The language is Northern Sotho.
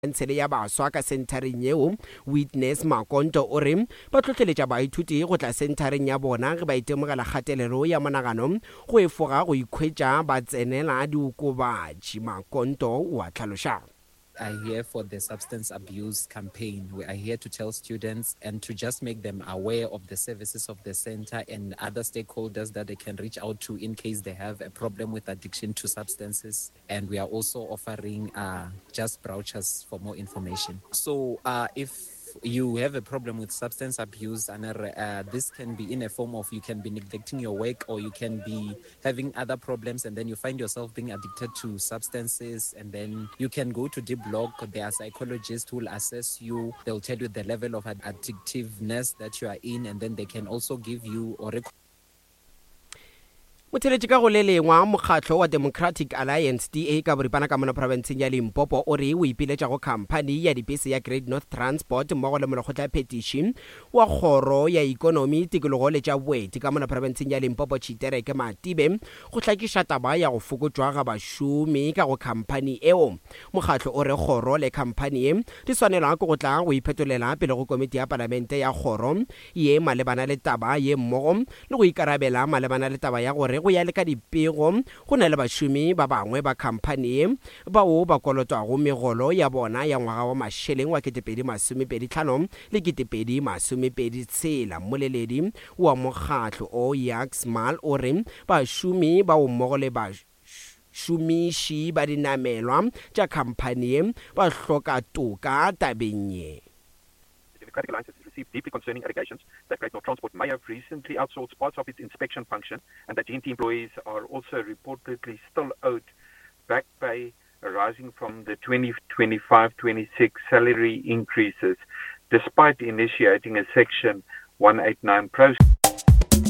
Khansele ya Baswa ka senthareng yeo, Witness Makonto o re ba hlohleletša baithuti go tla senthareng ya bona ge ba itemogela kgatelelo ya monagano go efoga go ikhwetša ba tsenela diokobatši. Makonto o a hlaloša. Are here for the substance abuse campaign. We are here to tell students and to just make them aware of the services of the center and other stakeholders that they can reach out to in case they have a problem with addiction to substances. And we are also offering uh, just brochures for more information. So uh, if you have a problem with substance abuse and uh, this can be in a form of you can be neglecting your work or you can be having other problems and then you find yourself being addicted to substances and then you can go to deep block there are psychologists who will assess you they'll tell you the level of addictiveness that you are in and then they can also give you or Motheletši ka go le lengwa, mokgatlo wa Democratic Alliance, DA, ka boripana ka mono profenseng ya Limpopo o re o ipiletša go khamphani ya dipese ya Great North Transport mmogo le molekgotlaphethiši wa kgoro ya ikonomi, tikologo le tša boeti ka mono profenseng ya Limpopo Tshitereke Matibe go hlakiša taba ya go fokotšwa ga bašomi ka go khamphani eo. Mokgatlo o re kgoro le khamphani ye di swanelwa ke go tla go iphetolela pele go komiti ya palamente ya kgoro ye malebana le taba ye mmogo le go ikarabela malebana le taba ya gore go ya le ka dipego go na le bašomi ba bangwe ba khamphani ye bao ba kolotwago megolo ya bona ya ngwaga wa mašeleng wa 2025 le 2026. Mmoleledi wa mokgatlo o Jacques Maal o re bašomi bao mmogo le bašomiši ba dinamelwa tša khamphani ye ba hloka toka tabeng ye. The Democratic Alliance has received deeply concerning allegations that Great North Transport may have recently outsourced parts of its inspection function and that GNT employees are also reportedly still owed back pay arising from the 2025-26 salary increases despite initiating a section 189 process.